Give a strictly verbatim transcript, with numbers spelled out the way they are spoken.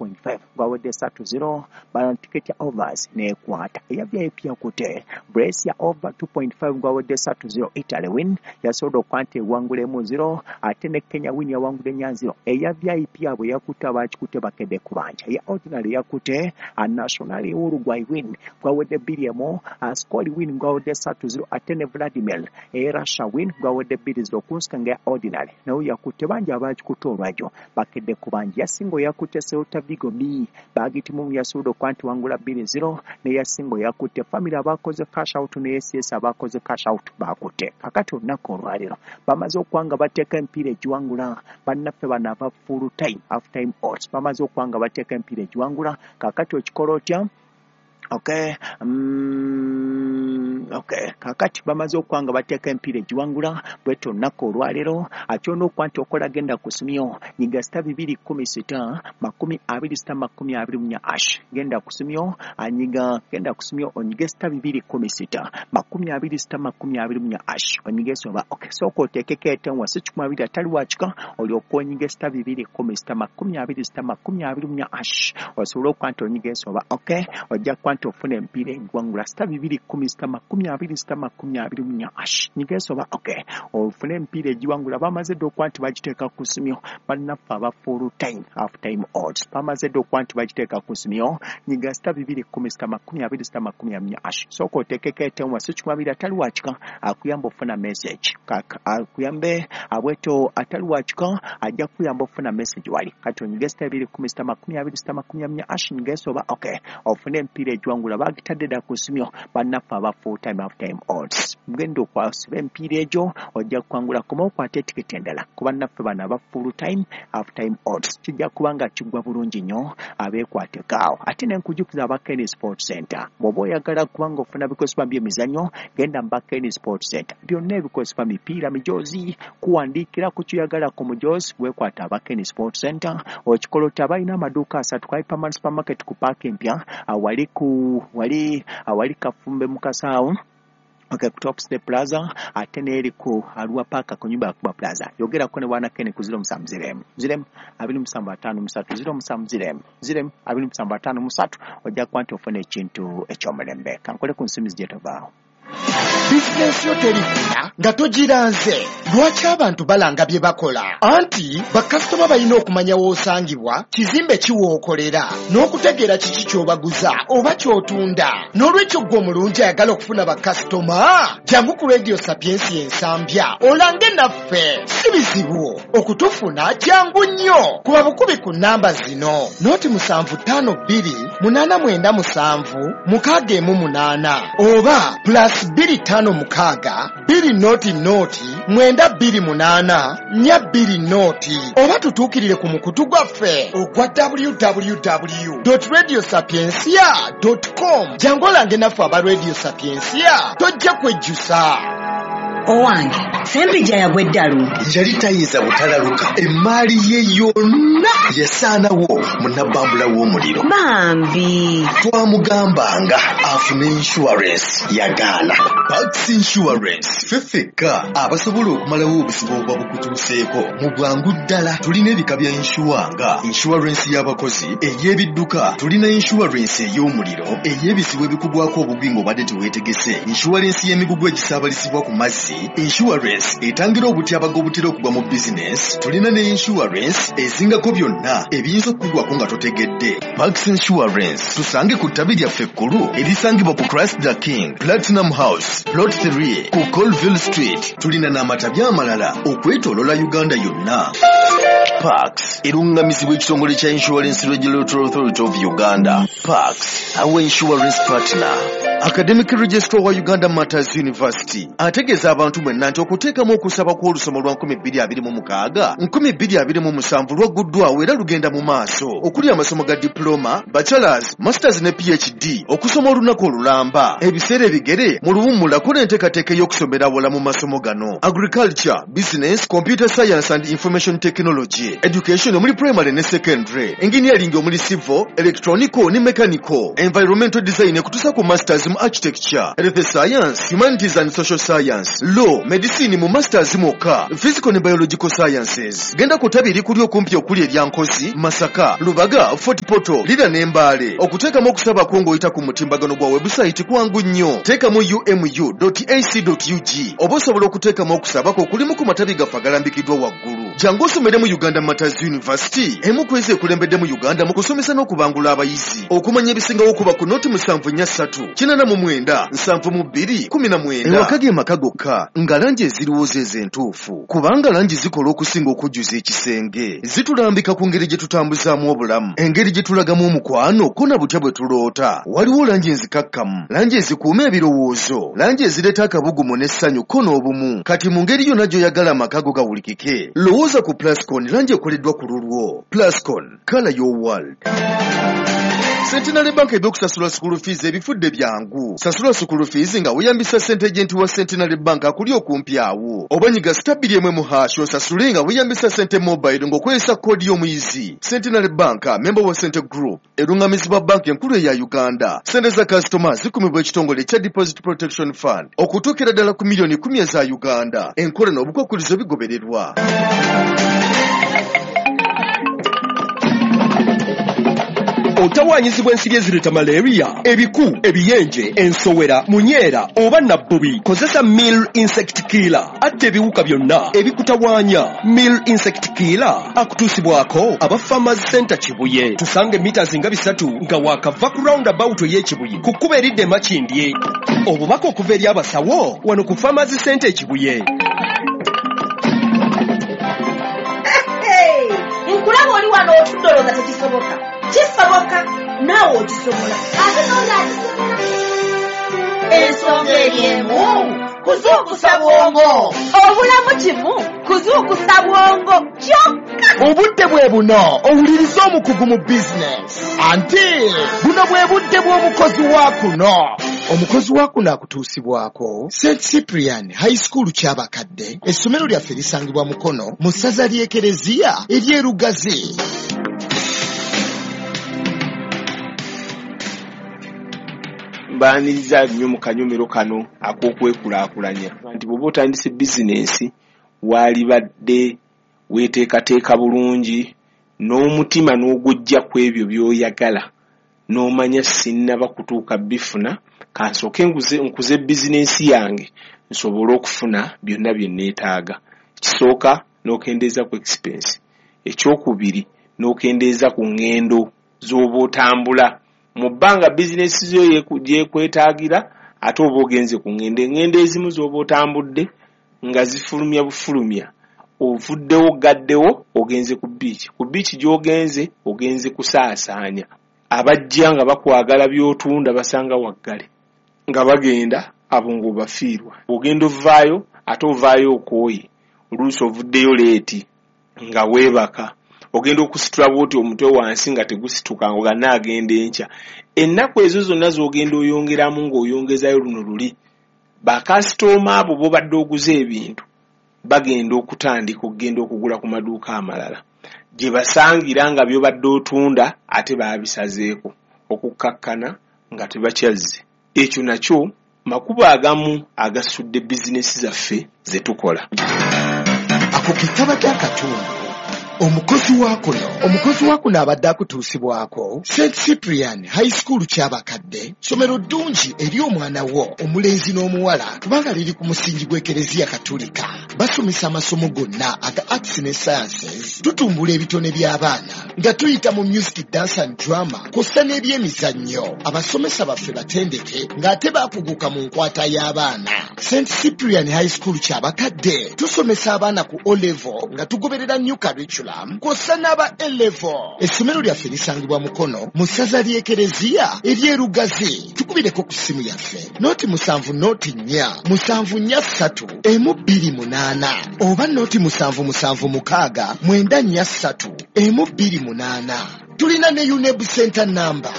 two point five gwawedde satu zero. Bano tiketi ya overs nekwata. Eya V I P yakute Brescia over two point five gwawedde satu zero. Italy win yasobodde okuba nti ewangulemu zero, ate ne Kenya win yawangudde nya zero. Eya V I P abo yakute abakikute bakedde kubanja. Eya ordinary yakute National Uruguay win gwawedde bbiri emu, Ascoli win gwawedde satu zero, ate ne Vladimir eya Russia win gwawedde bbiri zero. Kunsika nga ya ordinary nayo yakutte bangi, abakikutte olwajjo bakedde kubanja. Yasinga yakutte Celta Vigo B bagitimu yasobodde okuba nti wangula bbiri zero, neyasinga yakutte family abakoze cash out ne S S abakoze cash out bakutte. Kakati olunaku olwaleero bamaze okuba nga bateeka emipiira egiwangula. Bannaffe bano aba full time, half time odds bamaze okuba nga bateeka emipiira egiwangula. Kakati okikola otya? Okay, mm, okay, kakati bamaze okuba nga bateeka emipiira egiwangula bwetyo olunaku olwaleero. Akyona okuba nti okola, genda ku simyo, nyiga star bibiri kumi sita makumi abiri star makumi abiri munya hash. Genda ku simyo, anyiga, genda ku simyo, onyige star bibiri kumi sita makumi abiri star makumi abiri munya hash, onyige soba. Okay, sooka oteekeko etenwa si kikumi abiri atali wakika, olyoka onyige star bibiri kumi sita makumi abiri star makumi abiri munya hash, osobole okuba nti onyiga ensoba. Okay, ojja kuba nti ofuna emipiira egiwangula. Star bibiri kumi star makumi abiri star makumi abiri munya hash, nyiga ensoba. Okay, ofune emipiira egiwangula. Bamaze dda okuba nti bagiteeka ku simyo. Bannaffe aba full time, half time odds bamaze dda okuba nti bagiteeka ku simyo. Nyiga star bibiri kumi star makumi abiri star makumi abiri munya hash, sooka oteekeko etenwa si kikumi abiri atali wakika, akuyamba ofuna message, akuyambe abwetyo atali wakika ajja kuyamba ofuna message wali. Kati onyige star bibiri kumi star makumi abiri star makumi abiri munya hash, nyiga ensoba. Okay, ofune emipiira egiwangula, bagitadde dda ku simyo. Bannaffe aba full time, half time odds, mugenda okwasiba emipiira egyo, ojja kuwangula. Koma okwata etiketi endala ku bannaffe bano aba full time, half time odds, kijja kuba nga kiggwa bulungi nnyo. Abeekwatekaawo. Ate nenkujukiza aba Ken Sport Center, bw'oba oyagala kubanga ofuna bikozesebwa by'emizannyo, genda mu ba Ken Sport Center. Byonna ebikozesebwa, mipiira, mijoozi, kuwandiikira ku kyoyagala ku mujoozi, weekwata aba Ken Sport Center. Okikola oti abalina amaduuka asatu: Hyperman Supermarket ku paaka empya awali ku wali awali Kafumbe mu Kasaawo, okay, ku Top Step Plaza, ate n'eri ku Arua Park ku nyumba ya Kuba Plaza. Yogerako ne bwana Ken ku zero musanvu zero zero abiri musanvu ataano musatu, zero musanvu zero zero abiri musanvu ataano musatu, ojja kuba nti ofuna ekintu ekyomulembe. Kankole ku nsimbi zijetovaawo. Bizinensi yo terikula nga togiranze. Lwaki abantu balanga bye bakola? Anti bakasitoma balina okumanya w'osangibwa, kizimbe kiwookolera, n'okutegeera kiki ky'obaguza oba ky'otunda. N'olwekyo ggwe omulungi ayagala okufuna bakasitoma, jangu ku Radio Sapiensi Ensambya olange naffe. Si bizibu okutufuna, jangu nnyo kuba bukubi ku namba zino: noti musanvu ttaano bbiri munaana mwenda musanvu mukaaga emu munaana oba plus bbiri ttaano mukaaga bbiri noti noti mwenda bbiri munaana nnya bbiri noti, oba tutuukirire ku mukutu gwaffe ogwa W W W radio sapiencia com. Jangu olange naffe aba Radio Sapiencia, tojja kwejjusa. Owange Sempijja yagwa eddalu. Yali tayinza butalaluka, emaali ye yonna yasaanawo mu nabbambula w'omuliro. Bambi. Twamugambanga afune insurance, yagaana. Pax Insurance ffe ffekka abasobola okumalawo obuzibu obuba bukutuuseeko mu bwangu ddala. Tulina ebika bya insure nga insurance y'abakozi, ey'ebidduka, tulina insurance ey'omuliro, ey'ebizibu ebikugwako obugwi ng'obadde teweetegese, insurance y'emigugu egisaabalizibwa ku mazzi, insurance etangira obutyabaga obutera okugwa mu bizinesi. Tulina ne insurance ezingako byonna ebiyinza okukugwako nga totegedde. Pax Insurance tusange ku ttabi lyaffe ekkulu erisangibwa ku Christ the King Platinum House, Plot three ku Colville Street. Tulina n'amatabi amalala okwetoolola Uganda yonna. Pax eruŋŋamizibwa ekitongole kya Insurance Regulatory Authority of Uganda. Pax, our insurance partner. Academic Registrar wa Uganda Martyrs University ategeeza abantu mwenna nti okuteekamu okusaba kw'olusoma lwa nkumi bbiri abiri mu mukaaga nkumi bbiri abiri mu musanvu lwagguddwawo era lugenda mu maaso, okuli amasomo ga diploma, bachelors, masters ne P H D, okusoma olunaku olulamba, ebiseera ebigere mu luwummula n'enteekateeka ey'okusomera awala mu masomo gano: agriculture, business, computer science and information technology, education omuli primary ne secondary, engineering omuli civil, electronical ne mechanical, environmental design, ekutuusa ku masters. mu architecture, health science, humanities and social science, law, medicine mu masters mwokka, physical ne biological sciences. Genda ku ttabi erikuli okumpi okuli erya Nkozi, Masaka, Lubaga, Fort Portal, Lira ne Mbale. Okuteekamu okusaba kwo ng'oyita ku mutimbagano gwa website kwangu nnyo. Teekamu u m u dot a c dot u g oba osobola okuteekamu okusaba kwo okulimu ku matabi gaffe agalambikiddwa waggulu. Jangu osomere mu Uganda Martyrs University, emu ku ezo ekulembedde mu Uganda mu kusomesa n'okubangula abayizi. Okumanya ebisingawo kuba ku noti musanvu nnya ssatu kinaana mu mwenda nsanvu mu bbiri kumi na mwenda. Ewaka ge maka gokka nga langi eziriwo ze entuufu, kubanga langi zikola okusinga okujjuza ekisenge. Zitulambika ku ngeri gye tutambuzaamu obulamu, engeri gye tulagamu omukwano ko na butya bwe tuloota. Waliwo langi enzikakkamu, langi ezikuuma ebirowoozo, langi ezireeta akabugumu n'essanyu ko n'obumu. Kati mu ngeri yonna gy'oyagala amaka go gawulikike, lowooza ku Plascon, langi ekoleddwa ku lulwo. Plascon, colour your world. Centenary Bank ebyokusasula school fees ebifudde byangu. Sasula school fees nga weeyambisa ssente agent wa Centenary Bank akuli okumpi awo. Oba nyiga star bbiri emu mu hash osasule nga weeyambisa ssente mobile ng'okozesa koodi y'omuyizi. Centenary Bank, member wa Cente Group, erungamizibwa banki enkulu eya Uganda. Ssente za kasitoma zikumibwa ekitongole ekya Deposit Protection Fund okutuukira ddala ku miliyoni kkumi eza Uganda. Enkola n'obukwakkulizo bigobererwa. Otawaanyizibwa ensiri ezireeta malaria, ebiku, ebiyenje, ensowera, munyeera oba nabbubi. Kozesa Mill Insect Killer, atta ebiwuka byonna ebikutawaanya. Mill Insect Killer akutuusibwako aba Farmers Center Kibuye. Tusange mita nga bisatu nga waakava ku roundabout ey'Ekibuye ku kkubo eridda e Makindye. Obubaka okuva eri abasawo wano ku Farmers Center e Kibuye. Nkulaba oli wano otudde olowooza tekisoboka. Kisoboka, naawe okisobola. Ate n'oli akisobola. Ensonga eri emu, kuzuukusa bwongo. Obulamu kimu, kuzuukusa bwongo kyokka. Obudde bwe buno owuliriza omukugu mu bizinesi. Anti buno bwe budde bw'omukozi wa kuno. Omukozi wa kuno akutuusibwako Saint Cyprian High School Kyabakadde. Essomero lyaffe lisangibwa Mukono mu ssaza ly'Ekereziya ery'e Lugazi. Mbaaniriza nnyo mu kanyomero kano ak'okwekulaakulanya nti bw'oba otandise bizinensi waalibadde weeteekateeka bulungi n'omutima n'ogujja ku ebyo by'oyagala n'omanya sinnaba kutuuka bifuna, kansooke nkuze bizinensi yange nsobole okufuna byonna bye neetaaga. Ekisooka n'okendeeza ku expense, ekyokubiri n'okendeeza ku ŋŋendo z'oba otambula. Mu bbanga bizinensi zo gyekwetaagira ate oba ogenze ku ŋŋendo, eŋŋendo ezimu z'oba otambudde nga zifulumya bufulumya, ovuddewo gaddewo ogenze ku bbiici. Ku bbiici gy'ogenze ogenze kusaasaanya. Abajja nga bakwagala by'otunda basanga waggale nga bagenda abo ng'obafiirwa. Ogenda ovaayo ate ovaayo okooye, oluusi ovuddeyo leeti nga weebaka. Ogenda okusitula bw'oti omutwe wansi nga tegusituka nga naagenda enkya. Ennaku ezo zonna z'ogenda oyongeramu ng'oyongezayo luno luli, bakasitooma abo b'obadde oguza ebintu bagenda okutandika okugenda okugula ku maduuka amalala gye basangira nga by'obadde otunda ate baabisazeeko okukkakkana nga tebakyazze. Ekyo nakyo makubo agamu agasudde bizinesi zaffe ze tukola. Ako ke kabadde akatundu. Omukozi wa kuno, omukozi wa kuno abadde akutuusibwako Saint Cyprian High School Kyabakadde, ssomero ddungi eri omwana wo omulenzi n'omuwala kubanga liri ku musingi gw'Ekereziya Katolika. Basomesa amasomo gonna aga arts ne sciences, tutumbula ebitone by'abaana nga tuyita mu music, dance and drama kw'ossa n'ebyemizannyo. Abasomesa baffe batendeke ng'ate baakuguka mu nkwata y'abaana. Saint Cyprian High School Kyabakadde tusomesa abaana ku O level nga tugoberera new curriculum kw'ossa n'aba A level. Essomero lyaffe lisangibwa Mukono mu ssaza ly'Ekereziya ery'e Lugazi. Tukubireko ku ssimu yaffe noti musanvu noti nnya musanvu nnya ssatu emu bbiri munaana oba noti musanvu musanvu mukaaga mwenda nnya ssatu emu bbiri munaana. Tulina ne UNEB Center number